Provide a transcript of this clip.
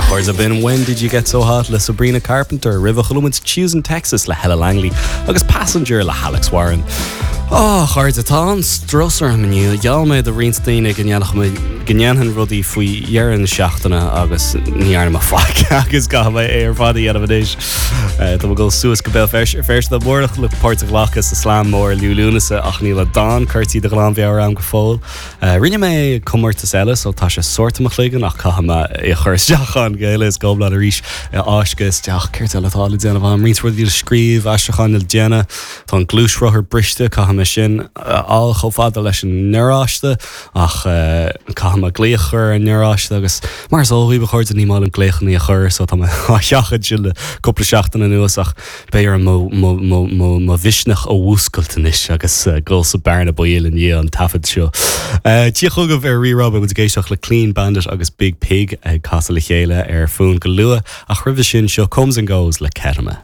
A chairde, b'in When Did You Get So Hot le Sabrina Carpenter, roimhe chuala muid Tues in Texas le Hella Langley agus Passenger le hAlex Warren. Á, a chairde, tá an-strus orm inniu. Gheall mé do roinnt daoine go ndéanfadh mé, go ndéanfainn rudaí faoi dheireadh na seachtaine agus ní dhearna mé faic agus caithfidh mé é ar fad a dhéanamh anois. Tá mé ag dul suas go Béal Feirste amárach le páirt a ghlacadh sa Slam Mór Liú Lúnasa ach níl an dán curtha de ghlanmheabhair agam go fóill. Rinne mé comórtas eile so tá sé sórt i mo chloigeann ach caithfidh mé é a chur isteach ann go huile is go hiomlán arís, a fháisceadh isteach. Céard eile atá le déanamh agam? Roinnt rudaí le scríobh, aistriúcháin le déanamh. Tá an gluaisrothar briste, caithfidh mé sin a fháil chomh fada leis an ngaráiste ach caithfidh mé glaoch a chur ar an ngaráiste agus mar is eol dhaoibh a chairde ní maith liom glaochanna a chur so tá mé á sheachaint sin le cúpla seachtain anuas ach Beidh orm mo mhisneach a mhúscailt anois agus dul sa bearna baoil i ndiaidh an taifead seo. Dia chugaibh ar Rí-Rá, beidh muid ag éisteacht le Clean Bandit agus Biig Piig ag casadh le chéile ar Fún go luath, ach roimhe sin, seo Comes and Goes le Ketama.